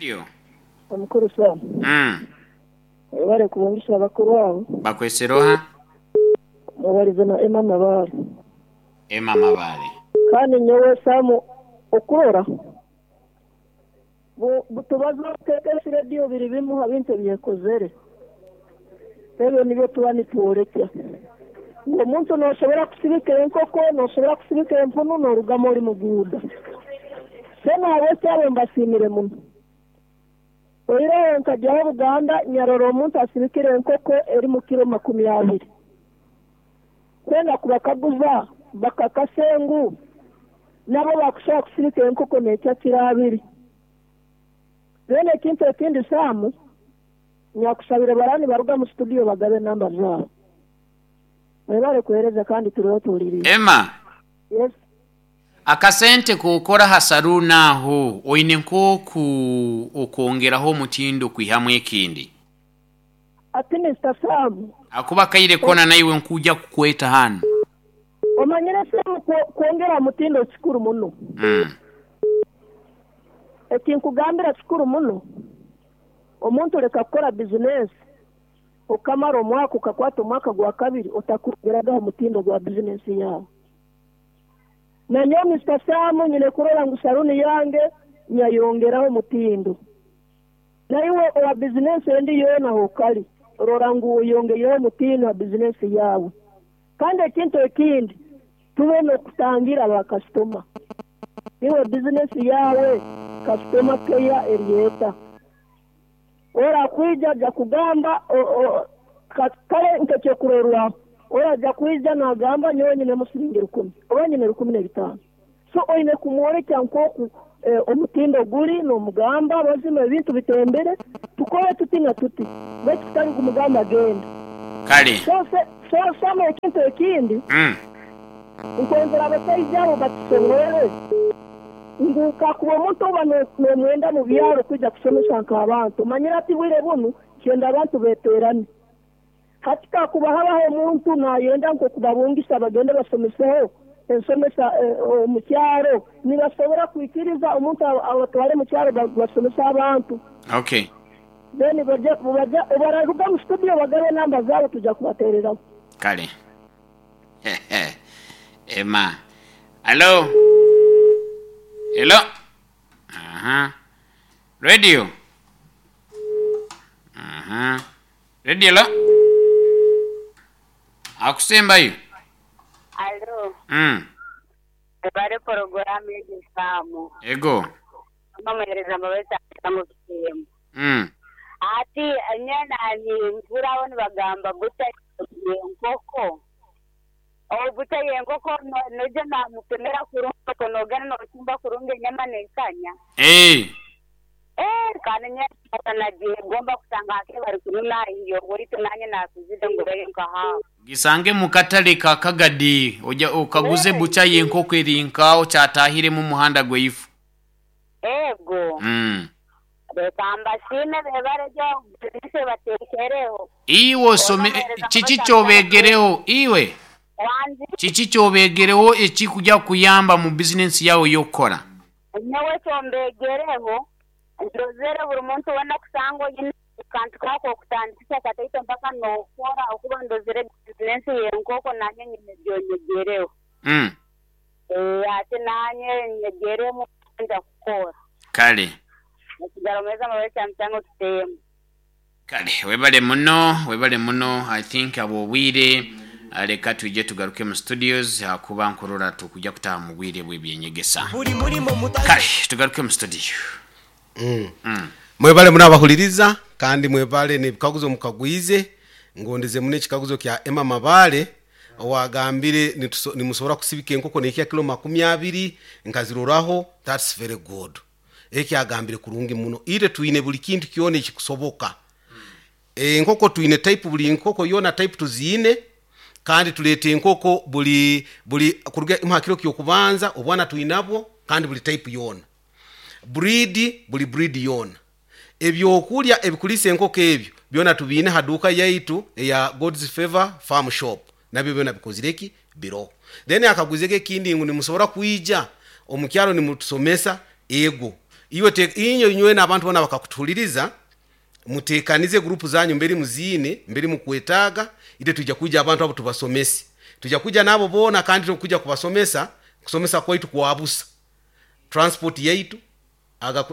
Yo. Omukuru Sam, webale kubungisa abakuru abo. Bakwesere oha? Mubalize na Emma Mabale. Emma Mabale. Kandi nyowe Sam okurora butubaza KKS Radio biri bimu ha bintu ebyekozere. Ebyo nibyo tuba nitwolekya. Ngu omuntu nosobora kusibika enkoko, nosobora kusibika empunu norugamu oli muguuda. So nahabweki abo mbasiimire muno. Oihireho nkagyaho Buganda nyarora omuntu asibikire enkoko eri mu kiro 20. Kwenda kubakaguza bakakase ngu nabo bakusobora kusibika enkoko nekya kiro 2. Then ekintu ekindi Sam, nyakusabire baraba nibaruga mu studio bagabe enamba zaabo. Mwebale kuheereza kandi turoho tuhuliriize. Emma. Yes. Akasente k'okora ha saluuni aho oine nk'oku okwongeraho omutindo kwihamu ekindi? Ati Mister Sam. Ahakuba akaire koona naiwe nkuja kukweta hanu. Omanyire Sam kwongera ha mutindo kikuru muno. Ekinkugambira kikuru muno. Omuntu leka kukora bizinesi okamara omwaka okakwata omwaka gwa kabiri otakwongeragaho omutindo gwa bizinesi yaawe. Nanyowe Mister Sam nyine kurora ngu saluuni yange nyayongeraho omutindo. Naiwe owa bizinesi endi yoona hokali, rora ngu oyongeireho omutindo ha bizinesi yaawe. Kandi ekintu ekindi, tube n'okutangira ba kasitoma. Iwe bizinesi yaawe kasitoma keya eri eta? Orakwija aja kugamba kale nk'ekyokurorwaho, oraja kwija nagamba nyowe nyinemu siringi 1000 oba nyine 1005. So oine kumwolekya nk'oku omutindo guli n'omugamba mazima ebintu bitembere, tukole tuti na tuti baitu kutali kumugamba genda. Kale. So Sam ekintu ekindi, nkwenzera abasaija abo batusomere ngu kakuba omuntu oba n'omwenda mu byaro kwija kusomesa nk'abantu, omanyire hati bwire bunu kyenda abantu beterane. Hati kakuba habaho omuntu nayenda nk'okubabungisa bagende basomeseho ensomesa omu kyaro, nibasobora kwikiriza omuntu abatwale mu kyaro basomese abantu. Okay. Then bararuga mu studio bagabe enamba zaabo tuja kubatereraho. Kale. Emma. Hallo. Hello. Aha. Radio. Aha. Radio hello. Akusembayo. Alo. Ebare poroguramu egi Sam. Ego. Mama muhereza mbabazi tangu kitemu. Ati nyena nimpurira abo nibagamba bucha yenkoko. Obucha yenkoko noija namupimira kurungi okwo nogenda nochumba kurungi enyama nekanya. Kandi nyena nagyegomba kusanga hake bari kununa ahiyo baitu nanye nakuzire ngureyo nka hafu. Gisange mu katale ka Kagadi oja okaguze bucha y'enkoko eri nk'aho kyatahiremu omuhanda gwaifu. Ego. Reka mbasiime bebare gye bizinesi ebateekereho. Iwe osome kiki ky'obeegereho iwe? Wangi? Kiki ky'obeegereho ekikuja kukuyamba mu bizinesi yaawe ey'okukora? Nyowe ekyombeegereho, ndozere buri muntu weena kusanga oine akantu kaawe k'okutandikisa kataito mpaka nookora okuba ndozere bizinesi y'enkoko nanye nyine ebyonyegereho. Ati nanye nyegeremu nja kukora. Kale. Ekigaro meza mubare kyamukyanga kitemu. Kale webale muno webale muno I think habw'obwire leka twije tugaruke mu studios ahakuba nkurora tukuja kutaha mu bwire bw'ebyenyegesa. Kale tugaruke mu studio. Mwebale muno abahuliriza kandi mwebale n'ebikaguzo mukagwize. Ngondeze muno ekikaguzo kya Emma Mabale owagambire nimusobora kusibika enkoko nehikya kilo 20 nkaziroraho, that's very good. Ekyo agambire kurungi muno. Itwe twine buli kintu kyona ekikusoboka. Enkoko twine type buli nkoko yona type tuziine kandi tuleeta enkoko buli buli kuruga imu ha kiro ky'okubanza obwana twinabwo kandi buli type yona. Breed buli breed yona. Ebyokulya ebikuliisa enkoko ebyo byona tubiine ha duuka yaitu eya God's Favor Farm Shop nabyo byona bikozire ki? Biroho. Then akaguzege ekindi ngu nimusobora kwija omu kyaro nimutusomesa? Ego. Iwe inywe inywena abantu bona bakakutuhuliriza, mutekanize gurupu zanyu mberi muziine, mberi mukwetaaga, ite tujja kwija abantu abo tubasomese. Tujja kwija nabo boona kandi tukuja kubasomesa, kusomesa kwaitu kwabusa. Transport yaitu,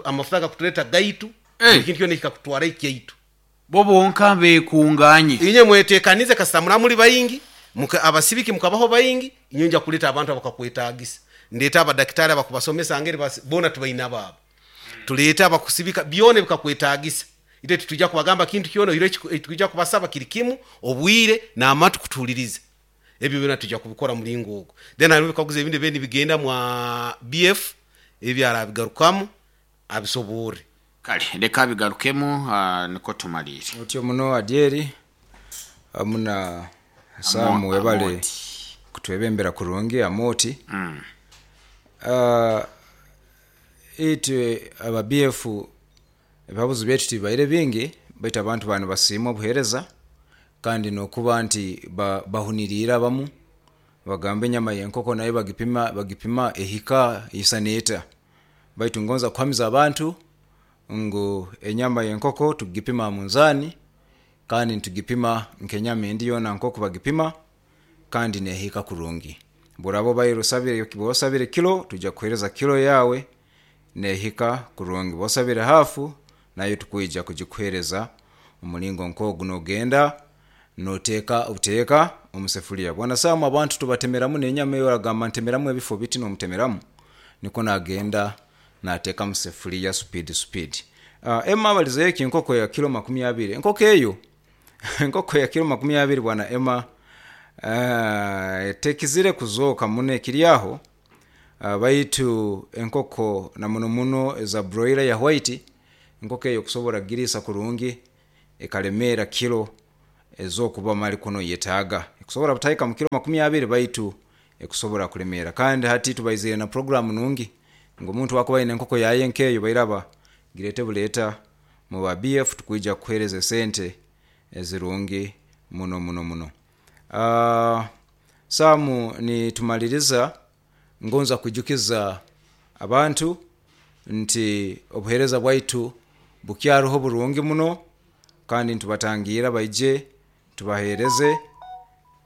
amafuta agakutuleta gaitu, ekintu kyona ekikakutwara ekyaitu. Bo bonka bekunganye. Inye mwetekanize kasita muramuli baingi, abasibiki mukabaho baingi, inye nja kuleta abantu abakakwetagisa. Ndeta abadaktari abakubasomesa ngeri bona tubaina babo. Tuleta abakusibika byona bikakwetagisa. Ite titujja kubagamba kintu kyona, ire tujja kubasaba kiri kimu, obwire n'amatu kutuhuliriza. Ebyo byona tujja kubikora mulingo ogwo. Then hariho ebikaguzo ebindi ebindi bigenda mwa BF, ebyo arabigarukamu abisoborre. Kale leka abigarukemu niko tumalire. Otyo muno Adyeri hamu na Sam webale Amoti. kutwebembera kurungi Amoti. Itwe aba BF ebihabuzo byaitu tibibaire bingi, baitu abantu banu basiima obuheereza kandi n'okuba nti bahuniriire abamu bagamba enyama y'enkoko nayo bagipima ehika isana eta. Baitu ngonza kuhamiza abantu ngu enyama y'enkoko tugipima aha munzaani kandi nitugipima nk'enyama endi yoona nk'oku bagipima kandi nehika kurungi. Bworaba obaire osabire kilo, twija kukuhereza kilo yawe nehika kurungi. Bwoba osabire hafu, nayo tukwija kugikuhereza omulingo nk'ogu, nogenda noteka obuteeka omu sefuliya. Bwana Sam, abantu tubatemeramu n'enyama eyo, oragamba ntemeramu ebifo biti nomutemeramu, nikwo nagenda nateka mu sefuliya supidi supidi. Emma abalizeyo eki enkoko ya kilo makumi abiri. Enkoko eyo, enkoko ya kilo makumi abiri bwana Emma, tekizire kuzooka muno ekiri aho, baitu enkoko na muno muno eza broiler ya white, enkoko eyo kusobora kugiriisa kurungi ekaremeera kilo ez'okuba mali kuno yetaaga. Ekusobora butahika mu kilo makumi abiri baitu ekusobora kuremeera. Kandi hati tubaizire na programu nungi ngu omuntu akuba aine enkoko yaye nkeeyo bairaba girete buleeta mu ba BF tukwija kukuhereza esente ezirungi muno muno muno. Sam, nitumaliriza ngonza kwijukiza abantu nti obuheereza bwaitu bukyaruho burungi muno kandi nitubatangira baije tubahereze,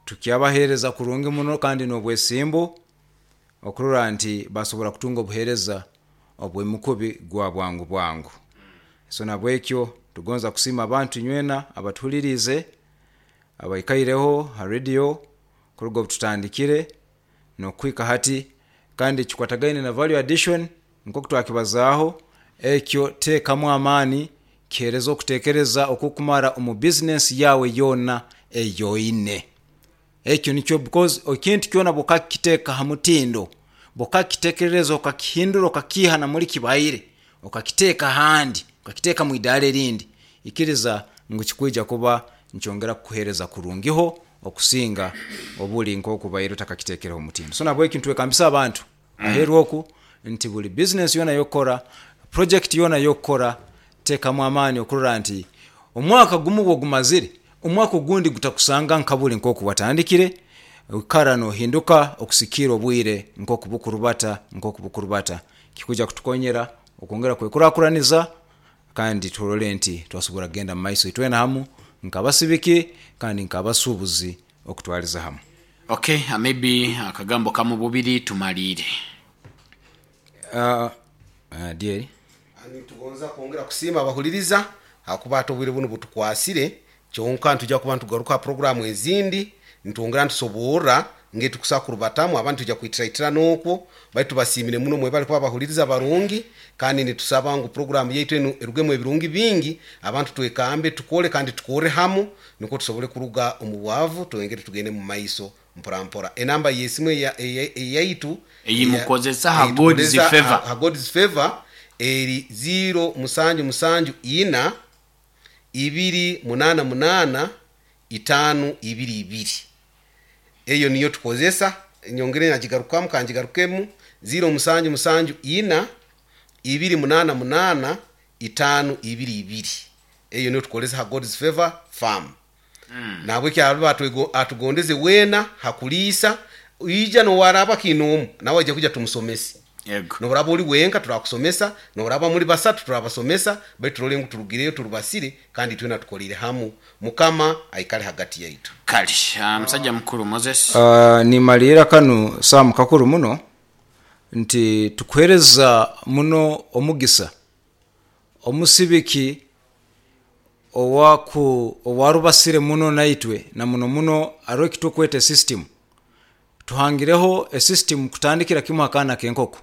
tukyabahereza kurungi muno kandi n'obwesimbu okurora nti basobora kutunga obuheereza obw'emukubi gwa bwangu bwangu. So nabwekyo tugonza kusiima abantu inywena abatuhuliriize, abaikaireho ha radio kuruga obututandikire n'okuhika hati, kandi kikwatagaine na value addition nk'oku twakibazaaho, ekyo teekamu amaani kihereza okutekereza okukumara omu bizinesi yawe yoona eyoine. Ekyo nikyo, because ekintu kyona bwokakiteeka ha mutindo, bwokakitekerereza okakihindura okakiiha na muli kibaire, okakiteeka ahandi, okakiteeka mu idaara erindi, ikiriza ngu kikwija kuba nikyongera kukuhereza kurungiho okusinga obuli nk'oku obaire otakakiteekereho omutindo. So nahabweki nitwekambisa abantu aheeru oku nti buli bizinesi yoona ey'okukora, project yoona ey'okukora, teekamu amaani okurora nti omwaka gumu bwogumazire, omwaka ogundi gutakusanga nka buli nk'oku watandikire, oikara nohinduka okusikiira obwire nk'oku bukurubata, nk'oku bukurubata. Kikwija kutukonyera okwongera kwekurakuraniza kandi turole nti twasobora kugenda mu maiso itwena hamu nk'abasibiki kandi nk'abasuubuzi okutwaliza hamu. Okay, maybe akagambo kamu bubiri tumaliire. Dyeri. Nitugonza kwongera kusiima abahuliriza ahakuba hati obwire bunu butukwasire, kyonka nitwija kuba nitugaruka ha puroguramu ezindi nitwongera nitusoborra ngeri tukusobola kurubatamu, abandi twija kwitiraitira n'okwo, baitu tubasiimire muno mwebale kuba abahuliriza barungi kandi nitusaba ngu puroguramu yaitu enu erugemu ebirungi bingi, abantu twekambe tukole kandi tukorre hamu nukwo tusobole kuruga omu bwavu twongere tugende mu maiso mpora mpora. Enamba y'esimu eyaitu Eyimukozesa ha God's eitukozesa Favor. ha God's Favor eri 0 musanju musanju ina ibiri munana munana itaano ibiri ibiri. Eyo niyo tukozesa, nyongere nagigarukamu kangigarukemu 0 musanju musanju ina ibiri munana munana itaano ibiri ibiri. Eyo niyo tukozesa ha God's Favor Farm. Nahabweki aruba atugondeze weena hakuliisa, ija n'owaraba kiine omu nawe aija kwija tumusomese. Yego. Noburaba oli wenka turakusomesa, noburaba muri basatu turabasomesa, baitu turole ngu turugireyo turubasire kandi twena tukolire hamu. Mukama aikale hagati yaitu. Kale musajja mukuru Moses. Nimalira kanu Sam kakuru muno nti tukuhereza muno omugisa omusibiki owarubasire muno naitwe na muno muno aro ekitukweta system. Tuhangireho esystem kutandikira kimu akaana k'enkoko.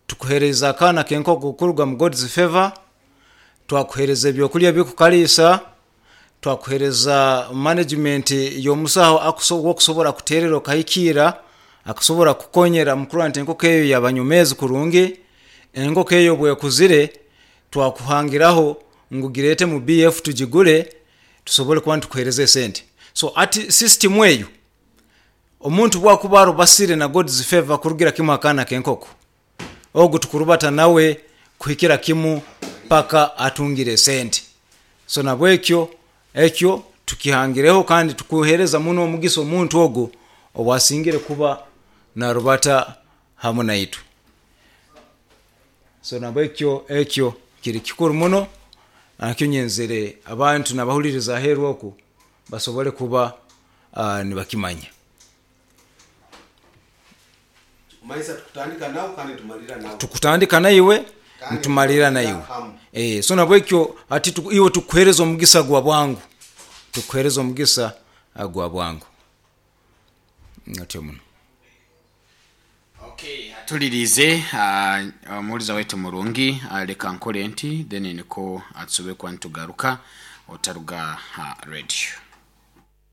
Tukuhereza akaana k'enkoko kuruga mu God's favor, twakuhereza ebyokulya bikukalisa, twakuhereza management y'omusaho wokusobora kuterera okahikira, akasobora kukonyera mukurora nti enkoko eyo yabanyomezi kurungi. Enkoko eyo bwekuzire twakuhangiraho ngu girete mu BF tugigure tusobole kuba nitukuhereza esente. So ati system eyo omuntu bwakuba arubasire na God's favor kurugira kimu akaana k'enkoko, ogu tukurubata nawe kuhikira kimu paka atungire esente. So nabwekyo ekyo tukihangireho kandi tukuhereza muno omugisa omuntu ogu owasingire kuba narubata hamu naitwe. So nabwekyo ekyo kiri kikuru muno, nakyo nyenzere abantu nabahuliriza aheeru oku basobole kuba nibakimanya. Maisa tukutandika nawe kandi tumalira nawe. Tukutandika naiwe Kandi ntumalira naiwe. hamu. So nabwekyo ati iwe tukuhereza omugisa gwa bwangu. Tukuhereza omugisa gwa bwangu. Atyo muno. Okay, atulirize omuwuliza waitu murungi, leka nkole nti then niko atusobe kuba nitugaruka otaruga ha radio.